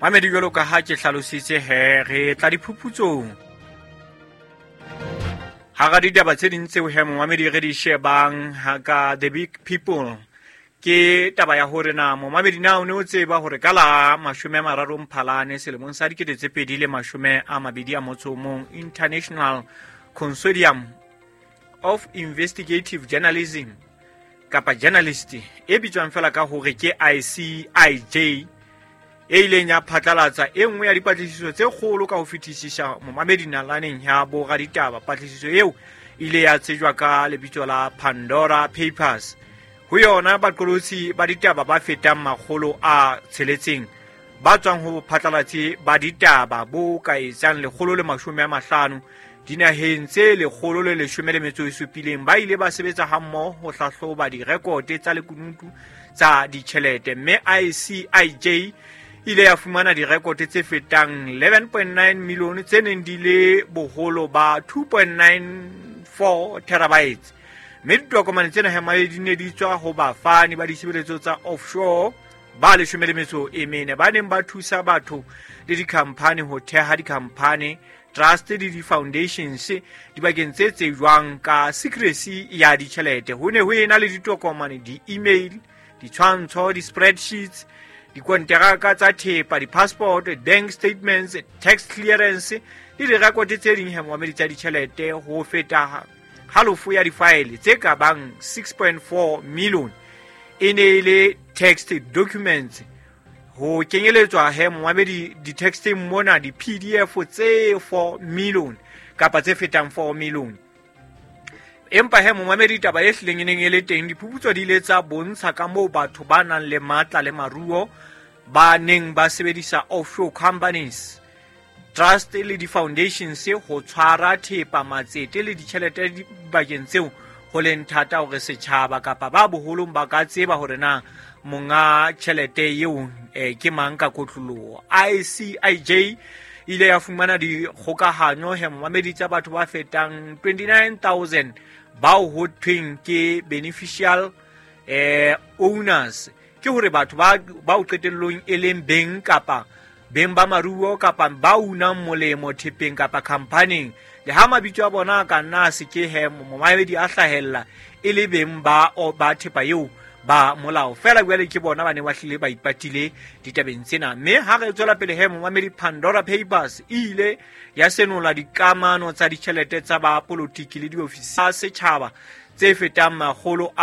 Mamedi, jwalo ka ha ke hlalositse he, re tla diphuputsong. Hara ditaba tse ding tseo he momamedi re di shebang ka The Big People, ke taba ya hore na momamedi na o ne o tseba hore ka la 30 Mphalane selemong sa 2021, International Consortium of Investigative Journalism kapa journalist e bitswang fela ka hore ke ICIJ, e ileng ya phatlalatsa e nngwe ya dipatlisiso tse kgolo ka ho fetisisa momamedi nalaneng ya boraditaba. Patlisiso eo ile ya tsejwa ka lebitso la Pandora Papers. Ho yona, baqolotsi ba ditaba ba fetang 600 ba tswang ho bophatlalatsi ba ditaba bo ka etsang 150 dinaheng tse 117 ba ile ba sebetsa hammoho ho hlahloba direkote tsa lekunutu tsa ditjhelete, mme ICIJ ile ya fumana direkote tse fetang 11.9 million tse neng di le boholo ba 2.94 terabytes, mme ditokomane tsena hemale di ne di tswa ho bafani ba ditshebeletso tsa offshore ba 14 ba neng ba thusa batho le dikhamphani ho theha dikhamphani, trust le di-foundations dibakeng tse tsejwang ka secrecy ya ditjhelete. Ho ne ho ena le ditokomane, di-email, ditshwantsho, di-spreadsheets, dikonteraka tsa thepa, di-passport, bank statements, tax clearance le direkote tse ding hemomamedi tsa ditjhelete. Ho feta halofo ya difaele tse ka bang 6.4 million e ne e le text documents, ho kenyeletswa he momamedi di-texteng mona di-PDF tse 4 million kapa tse fetang 4 million. Empa he momamedi, taba e hlileng e neng e le teng, diphuputso di ile tsa bontsha ka moo batho ba nang le matla le maruo ba neng ba sebedisa offshore companies, trust le di-foundations ho tshwara thepa, matsete le ditjhelete dibakeng tseo ho leng thata hore setjhaba kapa ba boholong ba ka tseba hore na monga tjhelete eo ke mang ka kotloloho. ICIJ ile ya fumana dikgokahanyo he momamedi tsa batho ba fetang 29,000 bao ho thweng ke beneficial owners, ke hore batho ba bao qetellong e leng beng kapa beng ba maruo kapa ba unang molemo thepeng kapa khamphaning, le ha mabitso a bona a ka nna a se ke he momamedi a hlahella e le beng ba thepa eo ba molao. Fela jwale ke bona ba ne ba hlile ba ipatile ditabeng tsena. Mme ha re tswela pele he momamedi, Pandora Papers e ile ya senola dikamano tsa ditjhelete tsa ba polotiki le diofisi tsa setjhaba tse fetang 330.